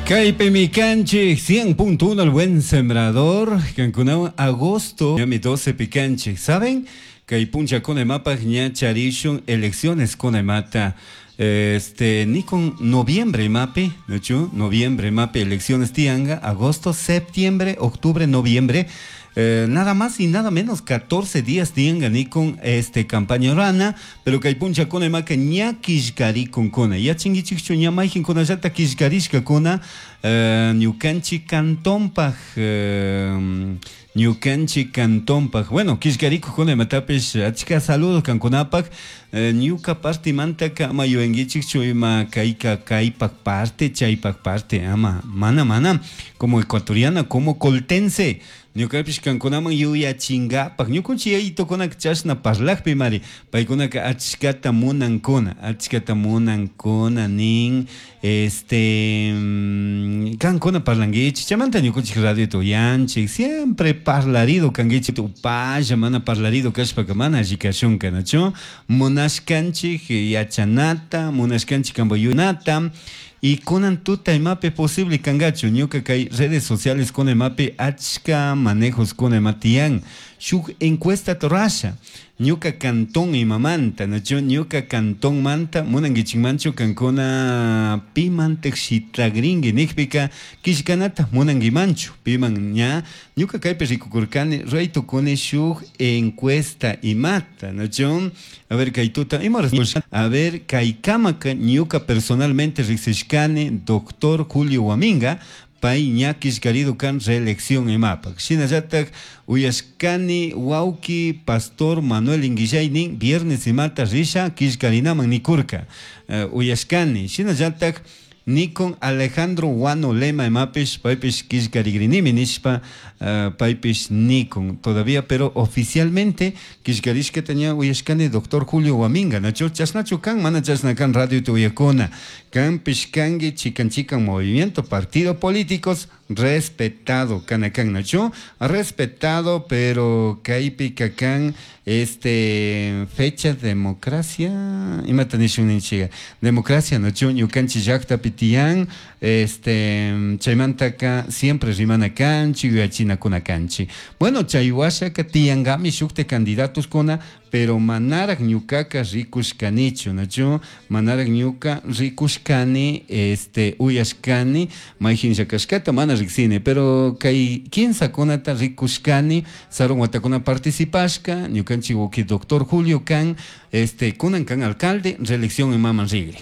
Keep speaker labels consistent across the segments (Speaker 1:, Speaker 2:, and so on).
Speaker 1: Kaypimi kanchik 100.1, El Buen Sembrador, kankunawan agosto ñami 12 pi kanchik. ¿Saben? Kay punllakuna imapaq ña charishun elecciones kuna imata, nikun noviembre imapi, ¿nachu? Noviembre imapi elecciones tianga, agosto, septiembre, octubre, noviembre, nada más y nada menos 14 días tianga nikun campaña rana, pero kay punllakuna imaka ña killkarikunkuna. Yachankichikchu ña mayqinkunallata killkarishkakuna, ñukanchik cantonpaj, ñukanchik cantonpaj, bueno, killkarikukuna imatapish achka saludos kankunapaj, ñuka partimantaka ama yuyankichikchu ima kayka kaypak parte, chaypak parte, ama, mana, mana, como ecuatoriana, como coltense, ñukapish kankunaman yuyachinkapak, ñukunchik yayitukunaka chashna parlakpi mari, paykunaka achkata munankuna, achkata munankuna nin, kankuna parlankichik, chaymanta ñukunchik radiota uyanchik, siempre parlarido kankichik, upalla mana parlarido kashpaka mana alli kashunka, nachu? Munashkanchik yachanata, munashkanchik kambayunata, y kunan tuta imapi posible kangachu, ñuka kay redes sociales kuna imapi achka manejos kuna ima tiyan, shuk encuesta rurasha, ñuka cantón imamanta, nachu? Ñuka cantón manta, munankichikmanchu kankuna pimantak shitlagrinki nikpika killkanata munankimanchu, piman ña, ñuka kaypi rikukurkani, ruray tukuni shuk encuesta imata, nachu? A ver, kay tuta, ima a ver, kay kamaka ñuka personalmente riksishkani doctor Julio Guaminga, pay ña killkarido kan reelección imapak. Shinallatak uyashkani wawki pastor Manuel Inguillay nin viernes imata risha killkarinaman nikurka. Uyashkani. Shinallatak nikun Alejandro Guano Lema imapish paypish killkarigrinimi nishpa, paypish nikun todavía, pero oficialmente killkarishkata ña uyashkani doctor Julio Guaminga, nachu? Chashnachu kan, mana chashna kan radio uyakuna. Kanpish kanki chikan chikan movimiento, partido políticos, respetado kana kan, nachu? Respetado, pero kaypi kakan fecha democracia, imata nishun ninchiga, democracia, nachu? Ñukanchik llaktapi tiyan, chaymantaka siempre rimana kanchik, yuyachinakuna kanchik. Bueno, chay washaka tiyankami shukta candidatos kuna, pero manarak ñukaka rikushkanichu, nachu? Manarak ñuka rikushkani, uyashkani, mayjinlla kashkata mana riksini, pero kay kinsa kunata rikushkani, sarun watakuna participashka, ñukanchik wawki doctor Julio kan, kunan kan alcalde, reelección imaman rigri.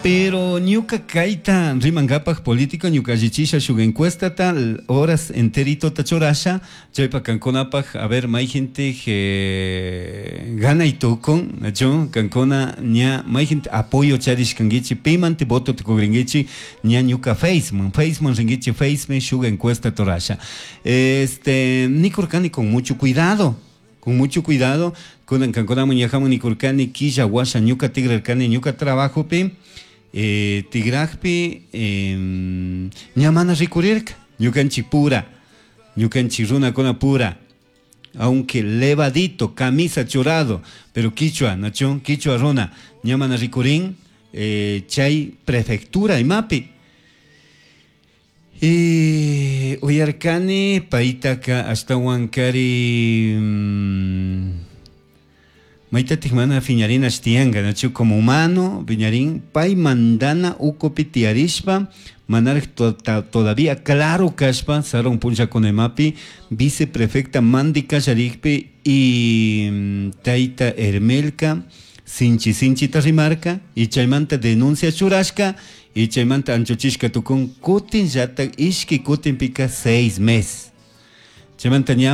Speaker 1: Pero ñuka kayta rimankapak político ñuka allichisha shuk encuestata horas enterito churasha chaypa kankunapak, a ver, mayjintik ganay tukun, nachu? Kankuna ña mayjintik apoyo charishkankichik, pimanti voto tukugrinkichik ña ñuka Faceman, Faceman rinkichik, Faceman shuk encuesta churasha. Nikurkani con mucho cuidado, con mucho cuidado, kunan kankunaman ñajaman nikurkani killa washa ñuka tigrarkani ñuka trabajopi, tigrajpi, ña mana rikurirka, ñukanchik pura, ñukanchik runakuna pura, aunque levadito, camisa churado, pero quichua, nachu, quichua runa, ña mana rikurin, chay prefectura imapi. Y uyarkani paytaka ashtawan kari, maytatik mana fiñarinash tiyanka, nachu, como humano, piñarín, pay mandana ukupi tiyarishpa, manarak todavía claro kashpa, sarun punllakunamapi, viceprefecta mandi kallarikpi y tayta Hermelka, sinchi sinchita rimarka, y chaymanta denuncia churashka, y chaymanta anchuchishka tukun, kutin llatak ishki kutin pika 6 meses. Chaymanta ña